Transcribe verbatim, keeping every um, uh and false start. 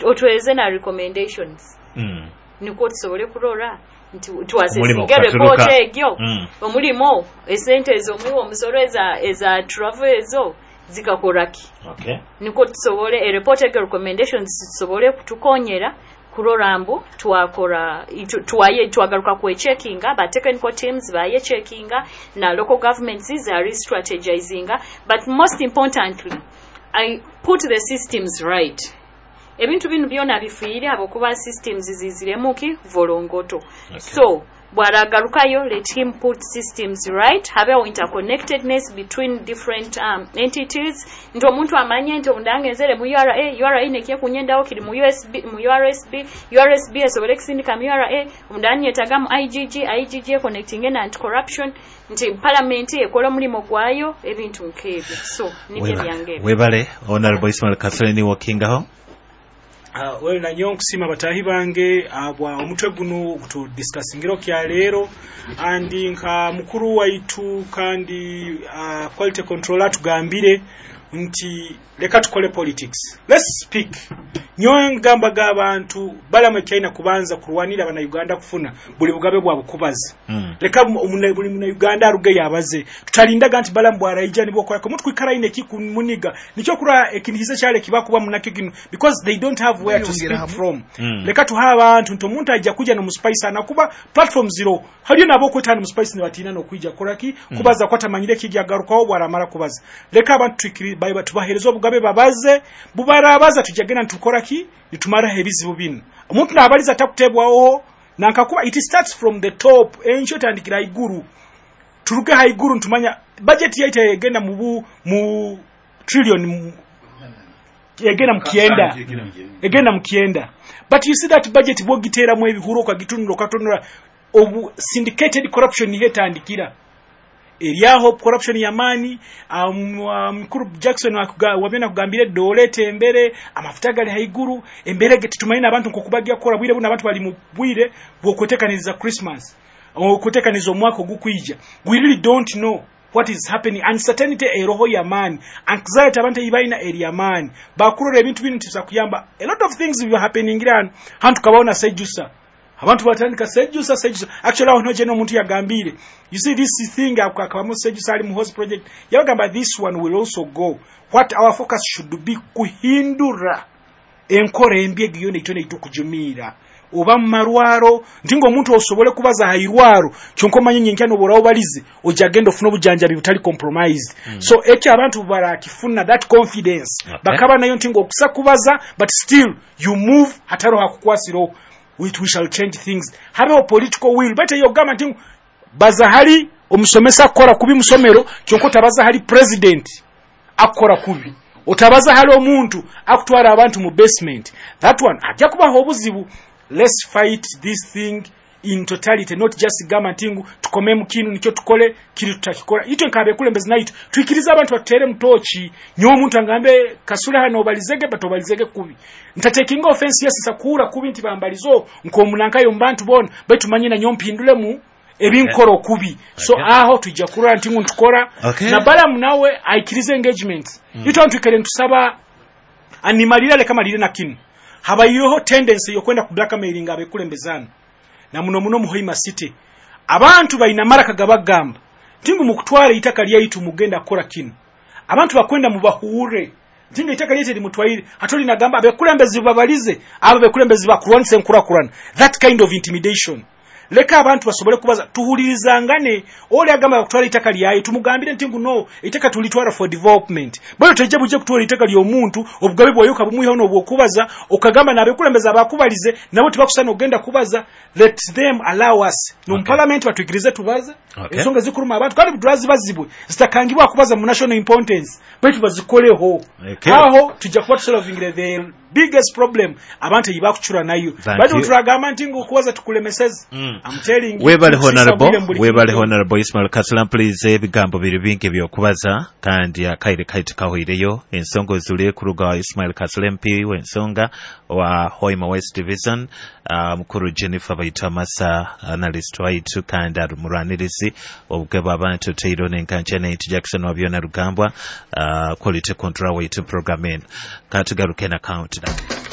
Otweze na recommendations, Mm. nikwo tusobole kurora nti Omulimo twasesinga gukaturuka. report egyo. Mm. Omulimo, esente ezo omuwa omusoro eza eza travel ezo zikakoraki? Okay. Nikwo tusobole ereport egyo, recommendations tusobole kutukonyera kurora mbu twakora itu- twaye twagaruka kwecheckinga, ba technical teams bayecheckinga na local governments za restrategizinga. But most importantly, I put the systems right. Ebintu bino byona bifiire abokuba systems ziziremuki volongoto. Okay. So bwaragarukayo, let him put systems right, habeho interconnectedness between different um, entities, nti omuntu amanye nti obundangenzere mu U R A, U R A nekiye kunyendawo kiri mu U S B, mu U R S B, U R S B esobole kusindika mu U R A, omundanyetaga mu I G G, I G G econnectinge na anti-corruption, nti parliament ekola omulimu gwayo, ebintu nk'ebyo. So nibyo byange ebyo. Webale, Honorable Ismail Kasule, niwe okingaho. Uh, well, nanyo nkusima batahi bange abwa omutwe guno gutudiscussingiro kya leero. Andi nka mukuru waitu kandi uh, quality controller tugambire nti leka tukole politics, let's speak. Nyowe ngambaga abantu balamu ekyalina kubanza kurwanira Abanauganda kufuna buli bugabe bwabwe kubaza. Mm. Leka omuna- buli Munauganda aruge yabaze. Tutalindaga nti Balamu bwaraija nibwokorako omuntu kwikara ine ekimuniga nikyo kura ekinihiza kyale kibakuba munakyo kino, because they don't have where to speak from. Mm. Leka tuha abantu nti omuntu ajja kuja nomuspice anakuba platform zero haliyo nabo okwetana muspice nibatiina nokwija koraki kubaza kwatamanyire kijagarukaho bwaramara kubaza. Leka abantu twikiri ba- tubahereza obugabe babaze. Bubarabaza, tujagenda nitukoraki, nitumaraho ebizibu bino. Omuntu nabaliza takutebwaho nankakuba. It starts from the top. Encho tandikira haiguru, turuge haiguru ntumanya budget yaita egenda mu bu- mu trillion mu- egenda mu kyenda, egenda mu kyenda. But you see that budget bwogiteeramu ebihuru, okagitunula, okatunula, obu syndicated corruption niho etandikira eryaho corruption yamaani. um, um, mukuru Jackson wabyona kugambira edola etembere, amafuta gali haiguru, embere ge titumanyi n'abantu nkokubagya kukora bwire buno. Abantu bali mu bwire bwokwetekaniriza Christmas, okwetekaniriza omwaka ogukwija. We really don't know what is happening. Uncertainty eroho yamaani, anxiety abantu eyibalina eri yamaani. Bakurora ebintu bino tisa kuyamba. A lot of things biri happening hano hantu kabaona sejusa, abantu batandika sejusa, sejusa. Actually, aho ntoje n'omuntu yagambire, you see this thing, akabamu sejusa ali mu host project, yabagamba this one will also go. What our focus should be, kuhindura enkora embi egiyo neito neito kujumiira oba mu marwaro, nti ng'omuntu osobole kubaza hairwaro kyonka omanye nyenkya noborawo balize ojja genda ofuna obujanjabi butali compromised mm. So ekyo abantu barakifuna that confidence. Okay. Bakaba nayo nti ng'okusa kubaza, but still you move hatariho hakukwasiraho. we, we shall change things. Habeho political will. Bate yogamba nti baza hali omusomesa akukora kubi musomero, kyonka otabaza hali president akukora kubi, otabaza hali omuntu akutwara abantu mu basement. That one ajja kubaho obuzibu. Let's fight this thing in totality, not just gamba nti ngu tukome mu kinu nikyo tukole kiri tutakikora. Itwe nkabekulembezi naitu twikirize abantu batutere mutoki. Nyowe omuntu angambe, "Kasule hano obalizege," but obalizege kubi, ntatekinga offense. Yes, sakuura kubi nti bambalizo nkomunankayo mubantu bona, baitu manye nanyo mpindulemu ebinkora okubi. So Okay. aho tujja kurora nti ngu ntukora. Okay. Na Balamu nawe aikirize engagement mm. Itwe twikere ntusaba animalira, leka malire na kinu. Habayiho tendency yokwenda ku blackmailing abekulembezana na muno muno mu Hoima City. Abantu balina maraka gabagamba ntingu mukutwala itaka lyaitu mugenda kukola kino. Abantu bakwenda mubahure ntinga itaka lyaitu limutwaire hatoli nagamba abekulembezi babalize, abo bekulembezi bakulwanisa enkurakurana. That kind of intimidation, leka abantu basobole kubaza, tuhulirizangane. Oli agamba kutwala itaka lyayo, tumugambire nti nguno itaka tulitwala for development. Bwe tejja bujje kutwala itaka ly'omuntu, obugabe bwayo kabumwiha n'obwokubaza, okagamba n'abekulembeza abakubalize nabo tibakusana ogenda kubaza. Let them allow us no Okay. parliament batwikirize tubaze Okay. ensonga zikuruma abantu, kandi budurazi bazibwe zitakangibwa kubaza mu national importance, baitu bazikoleho. Okay. Aho tujja kuba tusolvingire the biggest problem abantu eyibakucura nayo. Thank Bali you. turagamba nti ngukubaza tukulemeseze. Mm. I'm telling you, Webale, tusisa Honorable. bwire mu buli Webale, kintu. Honorable Ismail Kasula. Mpuliriza ebigambo biri bingi byokubaza kandi akaire kaitu kahoireyo. Ensonga ozule kuruga wa Ismail Kasula, M P w'ensonga wa Hoima West Division, uh, mukuru Jennifer Baitu Amasa, analyst waitu kandi ari mulwanirizi obugabo abantu teiro nenkancha naitu Jackson Wabyona Rugambwa, uh, quality control waitu program eno. Katugaruke na countdown.